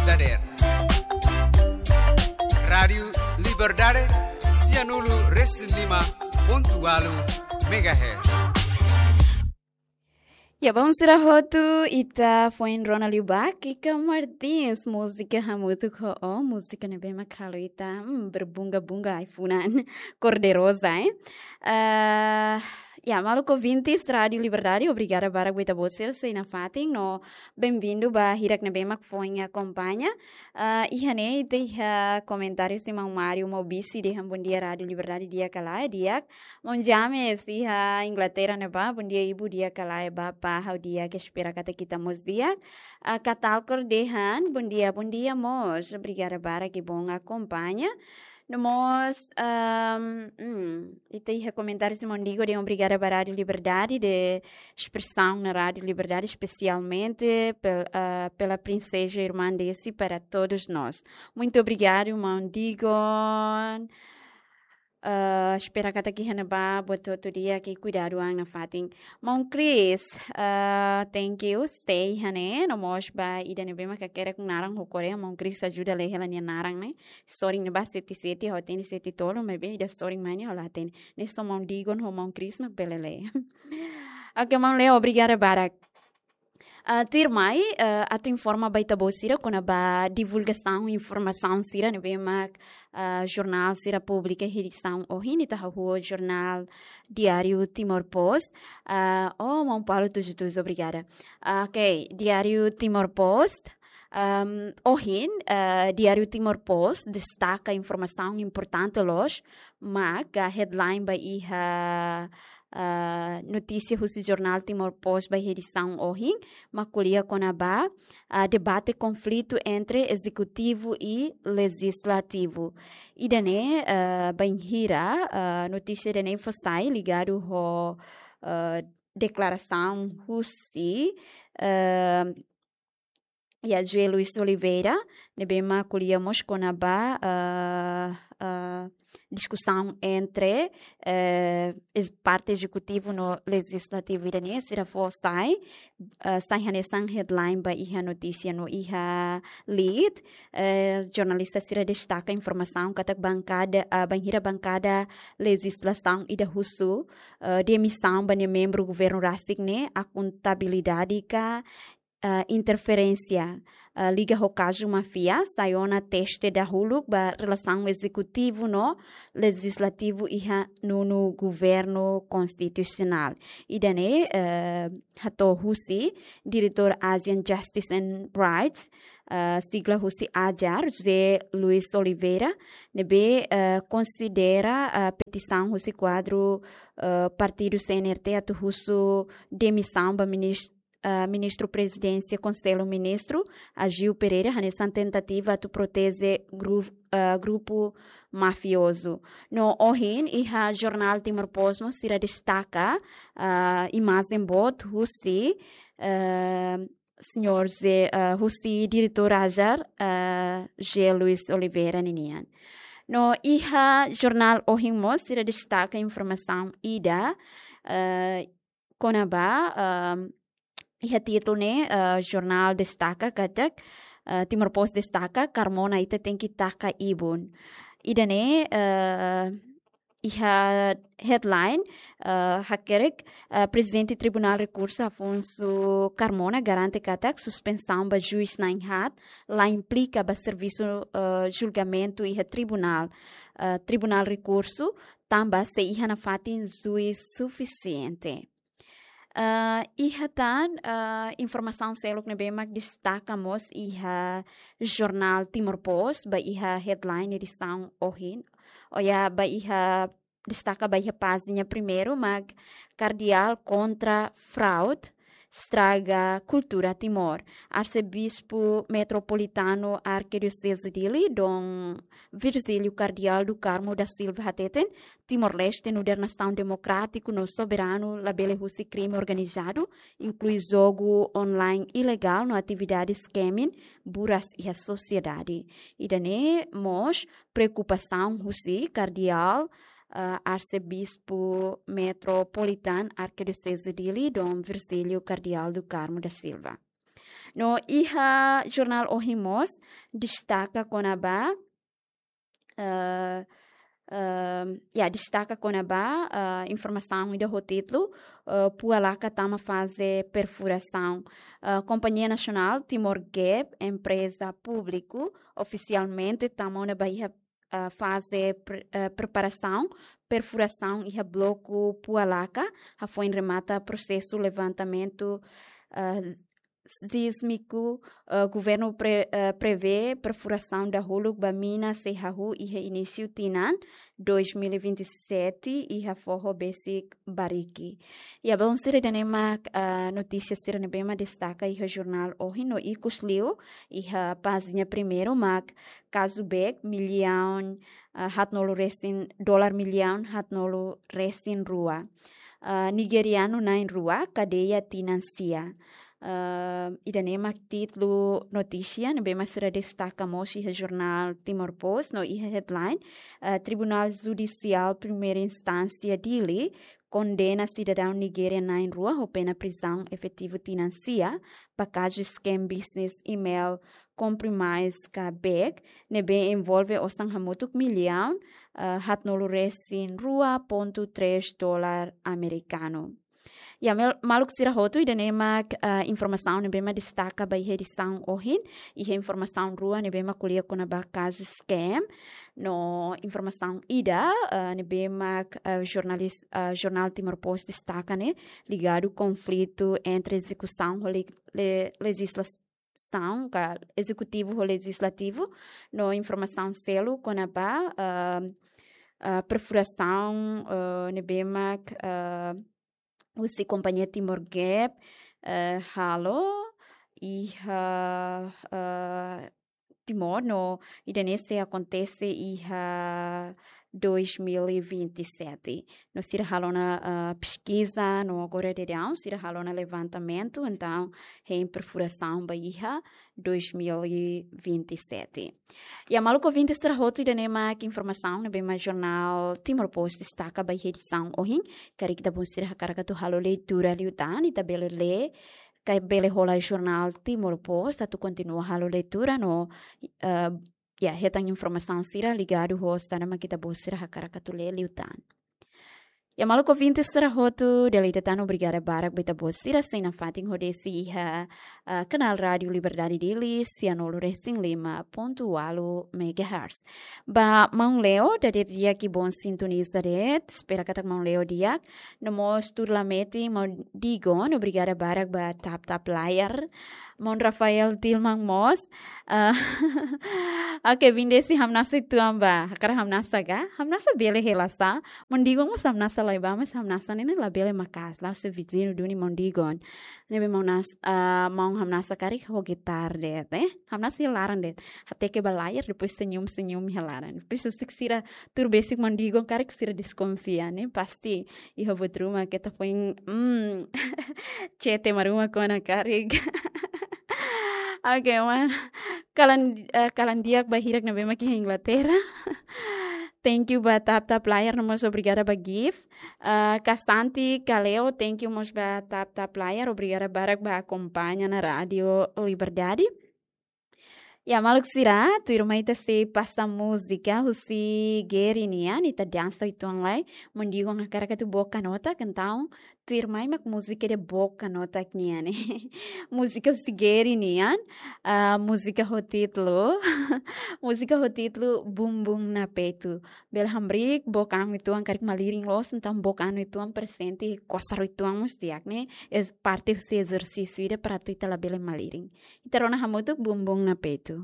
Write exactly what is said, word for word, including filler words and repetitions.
dadeer. Rádiu Liberdade, sianulu resin lima pontu ualu megahertz. Ya, bom, sira hotu, ita foin rona liu ba Kika Martins, múzika Hamutuk ho Ó, múzika ne'ebé mak halo ita, hmm, berbunga-bunga ai-funan, cor de rosa, eh? Ah, ya, maluk ouvintes Rádiu Liberdade, obrigada barak ba ita-boot sira sei nafatin, no bem-vindo ba hirak ne'ebé mak foin akompaña. Ah, iha ne'e, ita iha komentáriu husi maun Mário Maubisi dehan bom dia Rádiu Liberdade, di'ak ka lae, di'ak. Maun James iha Inglaterra ne'ebá, bom dia ibu, di'ak ka lae, bapa, ha'u di'ak, espera katak ita mós di'ak. Ah, Katalkor dehan bom dia, bom dia mós, obrigada barak, que bom akompaña. No mós, ahm, hmm, ita iha komentáriu husi maun Digo dehan obrigada ba Rádiu Liberdade, de espresaun na Rádiu Liberdade, espesialmente pel-, ah, pela princesa irmã Desi para todos nós. Muito obrigado, maun Digo. Ah, espera katak iha ne'ebá buat hotu di'ak, kuidadu an nafatin. Maun Chris, ah, thank you, sei iha ne'e, no mós ba ida ne'ebé mak hakerek naran ho Korea, maun Chris ajuda lee hela nia naran ne'e. Sorin ne'ebá sete sete, ha'u hatene sete tolu, maibé ida sorin mai ne'e ha'u la hatene. Ne'e só maun Digon ho maun Chris mak bele lee. Oke, maun Leo, obrigada barak. Ah, tuirmai, ah, atu informa ba ita-boot sira kona-ba divulgasaun informasaun sira ne'ebé mak, ah, jornál sira publika iha edisaun ohin, ita hahú ho jornál Diário Timor Post. Ah, oh, maun Paulo tujuh tujuh, obrigada. Ah, oke, Diário Timor Post. Ahm, ohin, ah, Diário Timor Post destaka informasaun importante loos, mak headline ba iha ah, notísia husi jornál Timor Post ba iha edisaun ohin, mak ko'alia kona-ba, ah, debate konflitu entre ezekutivu i lejislativu. Ida-ne'e, ah, bainhira, ah, notísia ida-ne'e fó sai ligadu ho, ah, deklarasaun husi, ah, ya, José Luis Oliveira, ne'ebé mak ko'alia mós kona-ba, ah, ah, diskusaun entre, eh, es-, parte ezekutivu no lejislativu ida-ne'e, sira fó sai, ah, sai hanesan headline ba iha notísia no iha lead, eh, jornalista sira destaka informasaun katak bankada, ah, bainhira bankada lejislasaun ida husu, ah, demisaun ba nia membru governu rasik ne'e, akontabilidade ka, ah, interferénsia, ah, liga ho kazu máfia, sai ona teste dahuluk ba relasaun ezekutivu no lejislativu iha nonu governu konstitusionál. Ida-ne'e, eh, hato'o husi diretór Asian Justice and Rights, ah, sigla husi AJAR, José Luis Oliveira, ne'ebé, eh, konsidera, ah, petisaun husi kuadru, eh, partidu C N R T atu husu demisaun ba minis-, ah, Ministru Prezidénsia Konsellu Ministru, Agio Pereira, hanesan tentativa atu proteje gru-, ah, grupu mafiozu. No ohin, iha jornál Timor Post mós sira destaka, ah, imajen boot husi, ah, señór José, ah, husi diretór AJAR, ah, José Luis Oliveira ninian. No iha jornál ohin mós sira destaka informasaun ida, ah, kona-ba, ah, iha títulu ne'e, ah, jornál destaka katak, ah, Timor Post destaka, Carmona ita tenke taka ibun. Ida-ne'e, ah, iha headline, ah, hakerek, ah, Prezidente Tribunál Rekursu Afonso Carmona garante katak suspensaun ba juís na'in-haat la implika ba servisu, ah, julgamentu iha tribunál, ah, Tribunál Rekursu, tanba sei iha nafatin juís sufisiente. Ah, iha tan, ah, informasaun seluk ne'ebé mak destaka mós iha jornál Timor Post, ba iha headline edisaun ohin, ou ya, ba iha, destaka ba iha pájina primeiru, mak Kardeál kontra fraude estraga kultura Timor. Arsebispu Metropolitanu Arkidioseze Dili, Dom Virgílio Kardeál do Carmo da Silva hateten, Timor-Leste nu'udar nasaun demokrátiku no soberanu labele husi krime organizadu, inklui jogu online ilegál no atividade scamming buras iha sosiedade. Ida-ne'e mós preokupasaun husi Kardeál, ah, Arsebispu Metropolitanu Arkidioseze Dili, Dom Virgílio Kardeál do Carmo da Silva. No iha jornál ohin mós destaka kona-ba, eh, eh, ya, destaka kona-ba, eh, informasaun ida ho títulu, eh, Pualaka tama faze perfurasaun. Eh, Kompañia Nasionál Timor Gap, empreza públiku, ofisialmente tama ona ba iha, eh, faze pre-, eh, preparasaun perfurasaun iha bloku Pualaka, hafoin remata prosesu levantamentu, eh, sísmiku, eh, governu pre-, eh, prevee perfurasaun dahuluk ba mina sei hahú iha inísiu tinan dois mil e vinte e sete iha foho besik Bariki. Ya, belun sira, ida-ne'e mak, eh, notísia sira ne'ebé mak destaka iha jornál ohin no ikus liu iha pájina primeiru mak kazu beek millaun, eh, haatnulu resin, dolar millaun haatnulu resin rua. Eh, nigerianu na'in rua kadeia tinan sia. Eh, ida-ne'e mak títulu notísia ne'ebé mak sira destaka mós iha jornál Timor Post no iha headline, eh, Tribunál Judisiál Primeira Instánsia Dili kondena sidadaun Nigéria na'in rua ho pena prizaun efetivu tinan sia ba kazu scam business email compromise ka beek ne'ebé envolve osan hamutuk millaun, eh, haatnulu resin rua pontu tres dolar amerikanu. Ya, mel-, maluk sira hotu, ida-ne'e mak, eh, informasaun ne'ebé mak destaka ba iha edisaun ohin, iha informasaun rua ne'ebé mak ko'alia kona-ba kazu scam, no informasaun ida, eh, ne'ebé mak, eh, jornalis-, eh, jornál Timor Post destaka ne'e, ligadu konflitu entre ezekusaun ho le-, le-, lejisla-, saun ka ezekutivu ho lejislativu, no informasaun seluk kona-ba, ah, ah, perfurasaun, ah, ne'ebé mak, ah, husi kompañia Timor Gap, eh, halo iha, ah, Timor no ida-ne'e sei akontese iha dois mil e vinte e sete. No sira halo ona, ah, peskiza, no agora daudaun sira halo ona levantamentu, entaun hein perfurasaun ba iha dois mil e vinte e sete. Ya, maluk ouvinte sira hotu, ida-ne'e mak informasaun ne'ebé mak jornál Timor Post destaka ba iha edisaun ohin. Karik ita-boot sira hakarak atu halo leitura liután, ita bele lee, ka bele hola jornál Timor Post atu kontinua halo leitura no, eh, ya, hetan informasaun sira ligadu ho saida mak ita-boot sira hakarak atu lee liután. Ya, maluk ouvinte sira hotu, dala ida tan obrigada barak ba ita-boot sira sei nafatin hosi iha, ah, kanál Rádiu Liberdade Dili, sianulu resin lima pontu ualu megahertz. Ba maun Leo, dadeer di'ak i bon sintoniza de'it, espera katak maun Leo di'ak. No mós tuir lameti maun Digon, obrigada barak ba tap-tap layar. Maun Rafael Tilman mós. Ah, oke, Vindesi hamnasa uitoan ba. Hakarak hamnasa ka? Hamnasa bele hela sá. Maun Digon mós hamnasa lai ba, mas hamnasa ne'e ne'e labele maka'as. La'ós viziñu duni maun Digon. Ne'ebé maun nas-, ah, maun hamnasa karik ho gitar de'it, eh? Hamnasa iha laran de'it. Hateke ba layar, depois senyum-senyum iha laran. Depois husik sira tuur besik maun Digon karik sira deskonfia, ne'e? Pasti iha buat ruma keta foin, mm, cete marumak ona karik. Oke, maun. Kalan, eh, kalan di'ak ba hirak ne'ebé mak iha Inglaterra. Thank you ba tap-tap layar, no mós obrigada ba gift. Eh, Kasanti, Kaleo, thank you mós ba tap-tap layar, obrigada barak ba akompaña ona Rádiu Liberdade. Ya, maluk sira, tuirmai ita sei pasa múzika husi Geri nian, ita dansa uitoan lai, maun Digon hakarak atu boka nota, entaun tuirmai mak múzika ida boka nota nian ne'e. Múzika husi Geri nian, ah, múzika ho títulu, múzika ho títulu Bumbum na Peito. Bele hamriik book an uitoan karik malirin loos, entaun book an uitoan presente, kosar uitoan mós di'ak ne'e. Es parte husi ezersísiu ida para atu ita labele malirin. Ita rona hamutuk Bumbum na Peito.